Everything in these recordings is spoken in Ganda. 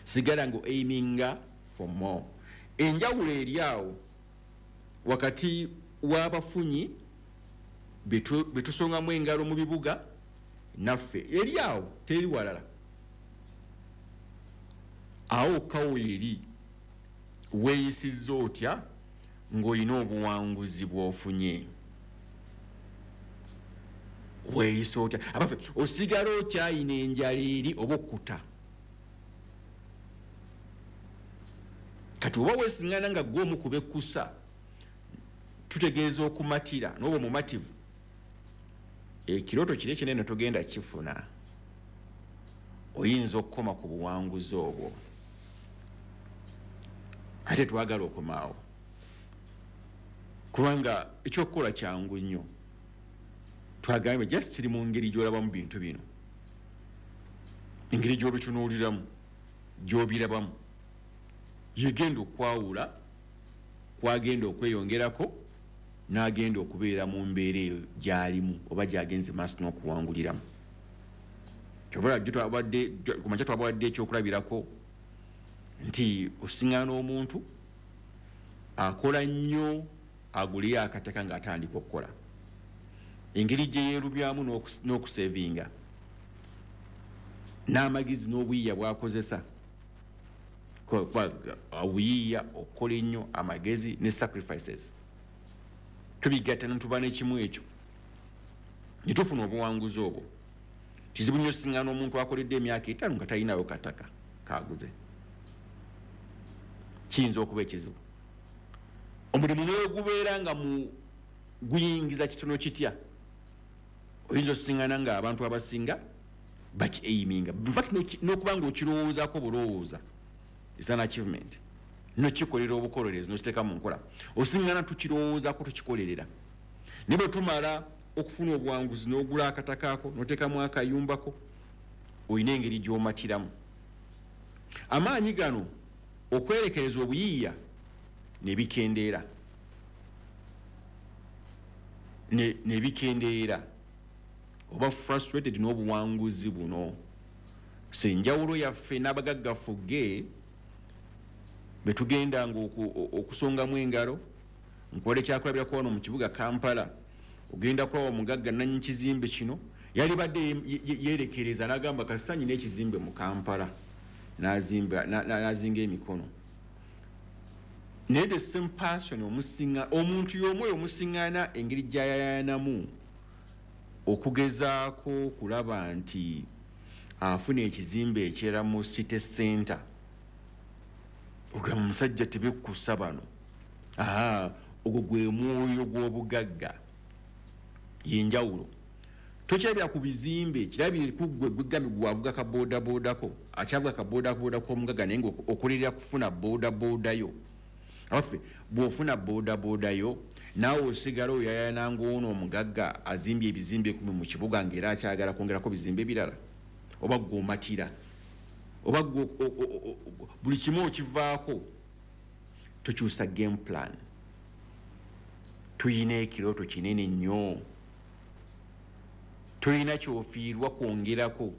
Sigala nga aiminga for more. Enjawulo eri awo wakati w'abafunyi betusongamu engalo mu bibuga naffe, eri awo, teri walala. Awo kawo eri weeyisizza otya ng'olina obuwanguzi bw'ofunye? Weeyisa otya? Abaffe, osigala okyayina enjala eri oba okkuta? Kati oba weesiŋŋana nga gwe omu ku bekkusa, tutegeeza okumatira n'oba omumativu, ekirooto kiri ekinene togenda kifuna. Oyinza okukoma ku buwanguzi obwo, ate twagala okomaawo, kubanga ekyokukola kyangu nnyo. Twagambye just kiri mu ngeri gy'olabamu bintu bino, engeri gy'obitunuuliramu, gy'obirabamu, yegenda okwawula kwagenda okweyongerako n'agenda okubeera mu mbeera eyo gy'alimu oba gy'agenze maaso n'okuwanguliramu. Kumakya twabawadde ekyokulabirako nti osiŋŋaana omuntu akola nnyo aguleyo akataka ng'atandika okukola, engeri gye yeerumyamu n'okusevinga n'amagezi n'obuyiiya bw'akozesa, obuyiiya, okukola ennyo, amagezi ne sacrifices, tubigatta netuba nekimu ekyo ne tufuna obuwanguzi obwo. Kizibu nnyo siŋŋaana omuntu akoledde emyaka 5 nga talinayo kataka kaguze. Kiyinza okuba ekizibu omulimu negubeera nga mu guyingiza kitono kitya, oyinza osiŋŋana nga abantu abasinga baki-aiminga. Infact n'okuba nga okirowoozaako bulowooza is an achievement, nokikolera obukolerezi nokiteeka mu nkola. Osiŋŋana tukirowoozaako, tukikolerera, naye bwe tumala okufuna obuwanguzi n'ogula akataka ako n'oteekamu akayumbako, olina engeri gy'omatiramu. Amaanyi gano okwerekereza obuyiiya ne bikendeera, ne bikendeera, oba frustrated n'obuwanguzi buno. So enjawulo yaffe n'abagagga fugge betugendanga okusongamu engalo, nkuwala ekyakulabirako wano mu kibuga Kampala, ogenda kulaba omugagga nannyini kizimbe kino yalibadde yeerekereza n'agamba kasita nyina ekizimbe mu Kampala, n'azinga emikono. Naye the same person, omusinga omuntu y'omu oyo omusiŋŋaana engeri gy'ayayanamu okugezaako okulaba nti afuna ekizimbe ekirala mu city center, ogamba omusajja tebekkusa bano. Ogwo gwe mwoyo gw'obugagga, yenjawulo. Tokyerabira ku bizimbe, kirabire ku ggwe gwegambye gwavuga ka bodaboodako, akyavuga ka bodaboda k'omugagga, naye nga okolerera kufuna bodaboda yo. Abaffe, bw'ofuna bodaboda yo, naawe osigala oyayana ng'ono omugagga azimbye ebizimbe 10 mu kibuga ng'era akyagala kwongerako bizimbe birala, oba ggwe omatira, oba ggwe buli kimu okivaako? Tukyusa game plan. Tuyina ekirooto kinene nnyo, toyina kyofiirwa kwongerako,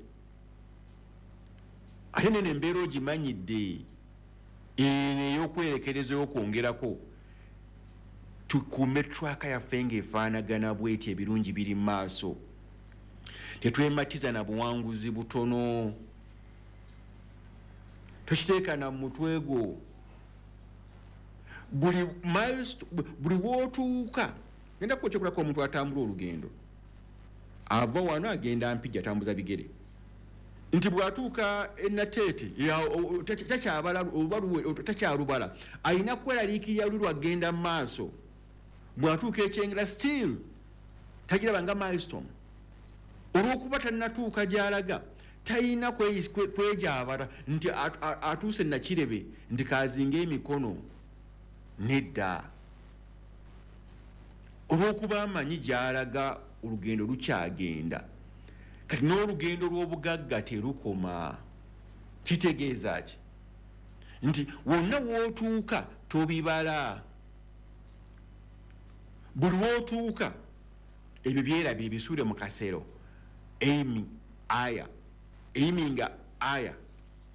ate nene embeera ogimanyidde eno ey'okwerekereza ey'okwongerako. Tukuume track yaffe ng'efaanagana bweti, ebirungi biri mu maaso. Tetwematiza na buwanguzi butono, tokiteeka na mutwe gwo. Buli milestone, buli wootuuka, genda kuba ekyokulako omuntu atambula olugendo ava wano agenda Mpigi, atambuza bigere, nti bw'atuuka enateete takyabala oba takyalubala, alina kweraliikirira luli lwagenda mu maaso. Bw'atuuka ekyengera still tagiraba nga milestone, olw'okuba tannatuuka gy'alaga. Talina kwejabala nti atuuse Nakirebe nti kazinga emikono, nedda, olw'okuba amanyi gy'alaga, olugendo lukyagenda. Kati n'olugendo lw'obugagga terukoma. Kitegeeza ki? Nti wonna w'otuuka tobibala, buli w'otuuka ebyo byerabire, bisuule mu kasero. Aiming aya, aiminga aya.